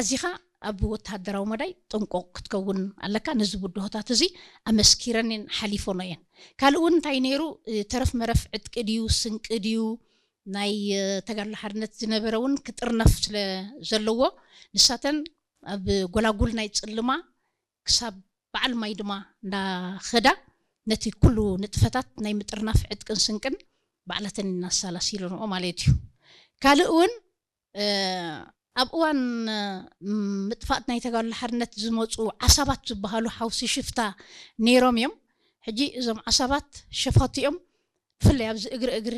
ኣዚኻ ኣብ ወተሃደራዊ መዳይ ጥንቁቕ ክትከውን ኣለካ። ነዚ ብድሆታት እዚ ኣመስኪረን ሓሊፎኖ እየን። ካልእ እውን እንታይ ነይሩ? ተረፍ መረፍ ዕጥቂ ድዩ፣ ስንቂ ድዩ፣ ናይ ተጋድሎ ሓርነት ዝነበረ እውን ክጥርነፍ ስለ ዘለዎ፣ ንሳተን ኣብ ጎላጉል ናይ ጽልማ ክሳብ በዓል ማይ ድማ እንዳኸዳ ነቲ ኩሉ ንጥፈታት ናይ ምጥርናፍ ዕጥቅን ስንቅን ባዕላተን እናሰላሲለንኦ ማለት እዩ። ካልእ እውን ኣብ እዋን ምጥፋእት ናይ ተጋድሎ ሓርነት ዝመፁ ዓሳባት ዝበሃሉ ሓውሲ ሽፍታ ነይሮም እዮም። ሕጂ እዞም ዓሳባት ሸፋቱ እዮም። ብፍላይ ኣብዚ እግሪ እግሪ